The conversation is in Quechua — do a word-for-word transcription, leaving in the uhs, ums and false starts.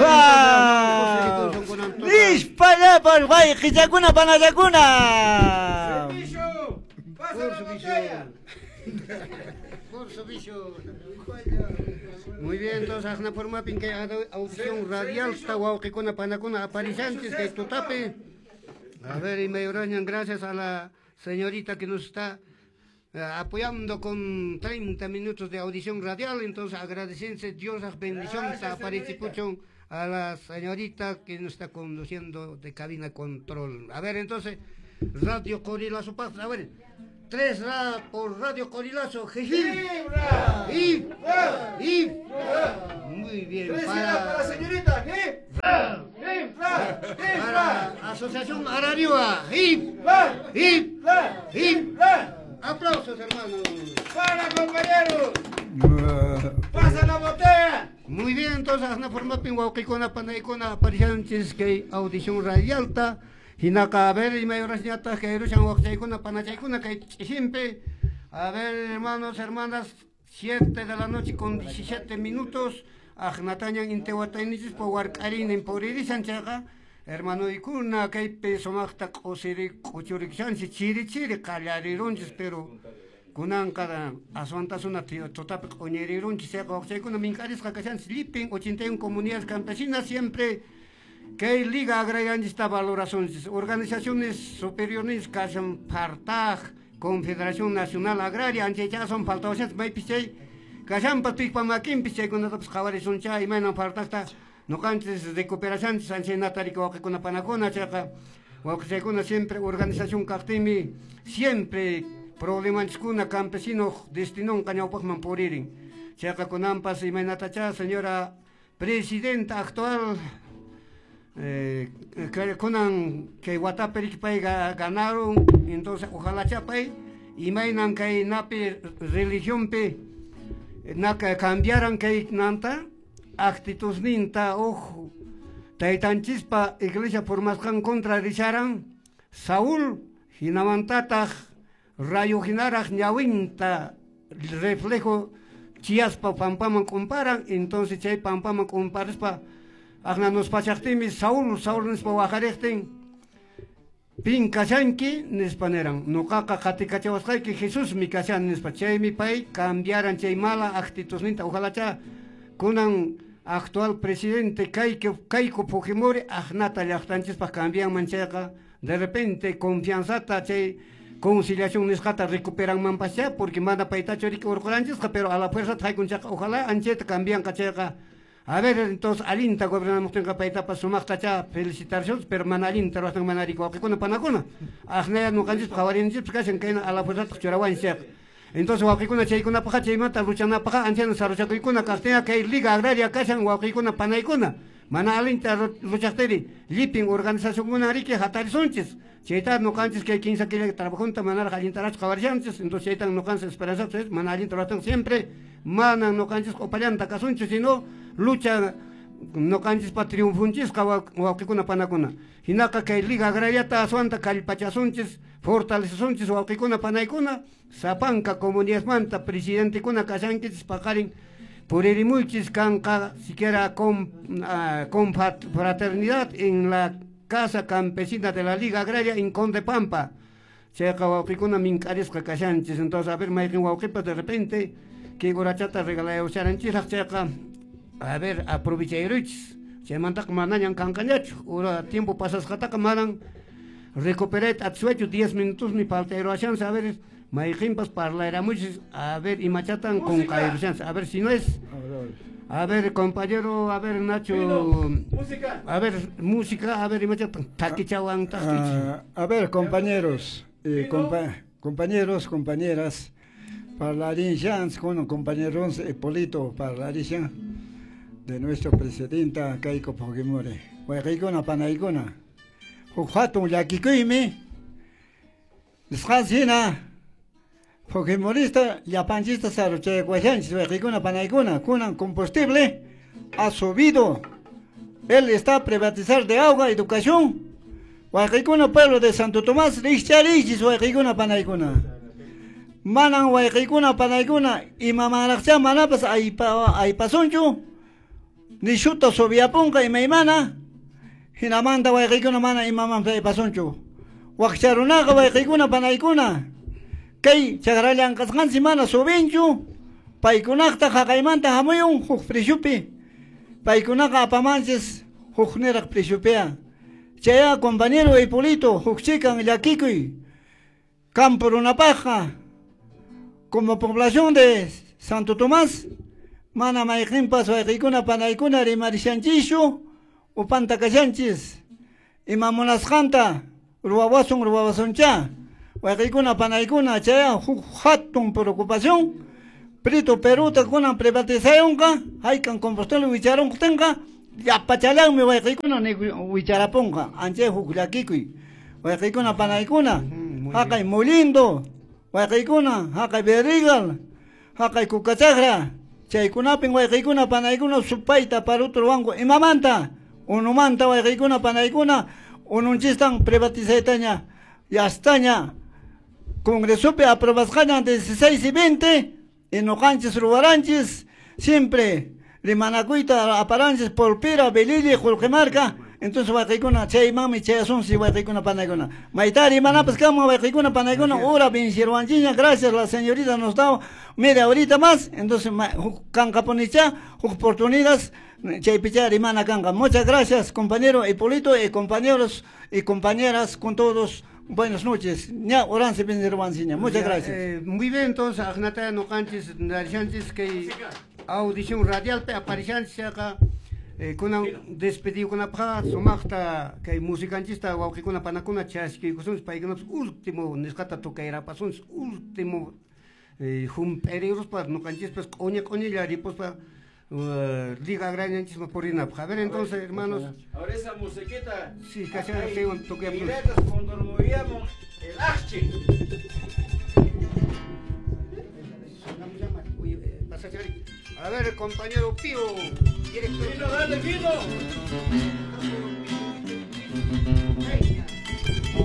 Fa. Nispa wayqichakuna panachakuna. Muy bien, entonces ajna formapin kay audición radial wawqikuna panakuna aparichanchis kay tutapi. A ver, y mayorañan, gracias a la señorita que nos está eh, apoyando con treinta minutos de audición radial. Entonces agradecense, Dios las bendiciones a Parichipuchón, a la señorita que nos está conduciendo de cabina control. A ver, entonces, Radio Corilazo Paz, a ver, tres ra por Radio Corilazo, Její, y, y, muy bien. Tres para, para la señorita, para Asociación Arariua, y, y, y, aplausos, hermanos. Para, compañeros. Pasa la botella. Muy bien, entonces, asna formapin wawqikuna panaykuna aparichanchis kay audición radialta. Hinaka, a ver, y mayorasñata, kay rushan waqchaykuna panachaykuna kay ch'isimpi. A ver, hermanos, hermanas, siete de la noche con diecisiete minutos. Ajnatañan intewataynichispa wark'arinin puririsan chayqa. Hermanoykuna kaypi sumaqta q'usiri q'uchuriksanchis chiri chiri qallarirunchis, pero kunanqa aswantasuna tutapi q'uñirirunchis chayqa waqchaykuna mink'arisqa kashanchis llipin ochenta y uno comunidades campesinas siempre kay Liga Agrarianchista valorasunchis. Organizaciones superiores kashan Fartaj, Confederación Nacional Agraria, anchaycha son faltawashanchis maypis chay kashanpa tuypa makinpis chaykunatapas qhawarisuncha imaynan Fartajta noqanchis recuperashanchis anchaynata riki wawqikuna panakuna chayqa wawqichaykuna siempre organización kaqtinmi siempre problemanchiskuna campesino destinonqa ñawpaqman puririn chayqa kunanpas imaynatacha señora presidenta actual eh, kunan kay watapi riki pay ganaron, entonces ojalá chapay imaynan kay napi religionpi naka cambiaran kay nanta actitudninta uj taytanchispa iglesia formasqan contra risharan Saúl hinamantataq rayo hinaraq ñawinta reflejo chiaspa pampaman kumparan, entonces chay pampaman kumparispa aqna nuspachaqtinmi Saúl Saúl nispa waqariqtin pin kashanki nispa niran nuqaqa qatikachawasqayki Jesusmi kashan nispa chaymi pay cambiaran chay mala actitudninta. Ojalá cha kunan actual presidente Keiko Keiko Fujimori aqnata llaqtanchispaq cambianman chayqa de repente confianzata chay conciliación nisqata recuperanmanpascha porque mana paytachu riki urquranchisqa, pero a la fuerza haykun chayqa ojalá anchayta cambianqa chayqa. A ver, entonces alinta gobernamuqtinqa paytapas sumaqta cha felicitarshunchis, pero mana alinta ruwastan mana riki wawqikuna panakuna aqnaya nuqanchispaq qhawarinchispaq kashan kayna a la fuerza churawanchis chayqa. Entonces wawqikuna chaykunapaqqa chaymanta luchanapaqqa anchana saruchakuykuna kaqtinqa kay Liga Agraria kashan wawqikuna panaykuna mana alinta luchaqtiri llipin organizacionkuna riki hatarisunchis chayta nuqanchis kay kinsa killa trabajunta manaraq allintarachu qhawarishanchis. Entonces chaytan nuqanchis esperanzachis mana allinta ruwastan siempre mana nuqanchis q'upallanta kasunchis sino lucha nuqanchispa triunfunchisqa wawqikuna panakuna. Hinaqa kay Liga Agrariata aswanta kallpachasunchis fortalecesunchis wawqikuna panaykuna sapanka comunidadmanta presidentekuna kashankichis paqarin puririmuychis kanqa siquiera con, uh, con fraternidad en la Casa Campesina de la Liga Agraria en Conde Pampa. Chayqa wawqikuna mink'arisqa kashanchis. Entonces a ver mayqin wawqipas de repente kay urachata regalayusharanchiraq chayqa a ver aprovechayruchis chaymantaqa manañan kanqañachu ura tiempo pasasqataqa manan recuperayta atisuaychu diez minutos ni faltayruashanchis. A ver mayqinpas parlayramuchis a ver imachatan qunqayrushanchis. A ver si no es, a ver compañero, a ver Nacho, música, a ver música, a ver imachatan takichawan takichi. A ver compañeros, eh, compa compañeros, compañeras, parlarinshans con compañeros Hipólito parlarishan de nuestro presidenta Keiko Fujimori. Wayqikuna panaykuna huk hatun llakikuymi nisqanchis Fujimorista llapanchista saruchaykuwashanchis wayqikuna panaykuna kunan combustible ha subido. Él está a privatizar de agua, educación. Wayqikuna pueblo de Santo Tomás rikcharichis wayqikuna panaykuna. Manan wayqikuna panaykuna imamanraqcha manapas aypa aypasunchu. Nishuta subiapunqa imaymana hinamanta wayqiykuna mana imaman pasunchu. Waqcharunaqa wayqiykuna panaykuna kay chakrallanqasqanchis mana subinchu paykunaqta haqaymanta hamuyun huk prishupi paykunaqa apamanchis huk niraq prishupia. Chaya compañero Hipólito huk chikan llakikuy campo runapaqqa como población de Santo Tomás mana mayqinpas wayqiykuna panaykuna rimarishanchischu upanta kashanchis ima munasqanta ruwawasun ruwawasuncha wayqiykuna panaykuna chaya huk hatun preocupación Prito Peruta kunan privatizayunqa haykan combustible wicharunqtinqa llapachallanmi wayqiykuna wicharapunqa anchay huk llakikuy wayqiykuna panaykuna haqay Molindo wayqiykuna haqay Berrigal haqay Kukachaqra chaykunapin wayqiykuna panaykuna supayta paruta ruwanku imamanta unumanta wayqiykuna panaykuna ununchistan privatizaytaña yastaña Congresopi aprobasqaña dieciséis y veinte y nuqanchis ruwaranchis siempre rimanakuyta aparanchis Polpira, Belili, Qullqimarka. Entonces wayqiykuna chaymanmi chayasunchis wayqiykuna panaykuna mayta rimanapas kanman wayqiykuna panaykuna hora venciruwanchikña gracias la señorita nos da media horita más entonces kanqapunicha huk oportunidades chaypicha rimana kanqa. Muchas gracias compañero Hipólito y compañeros y compañeras con todos. Buenas noches. Ña oranse venciruwanchikña. Muchas gracias. Eh, muy bien, entonces aqnata nuqanchis narishanchis kay audición radial pe aparishanchis acá kunan despediykunapaqqa sumaqta kay musicanchista wawqikuna panakuna chaskiykusunchis paykunapas último nisqata tukayrapasunchis último hump'eriruspa nuqanchispas q'uñi q'uñilla ripuspa liga agrañanchisman purinapaq. A ver entonces hermanos. Ahora esa musiquita. Sí, casi cuando nos movíamos el achi. A ver, compañero Pío, director. Vino, dale, vino.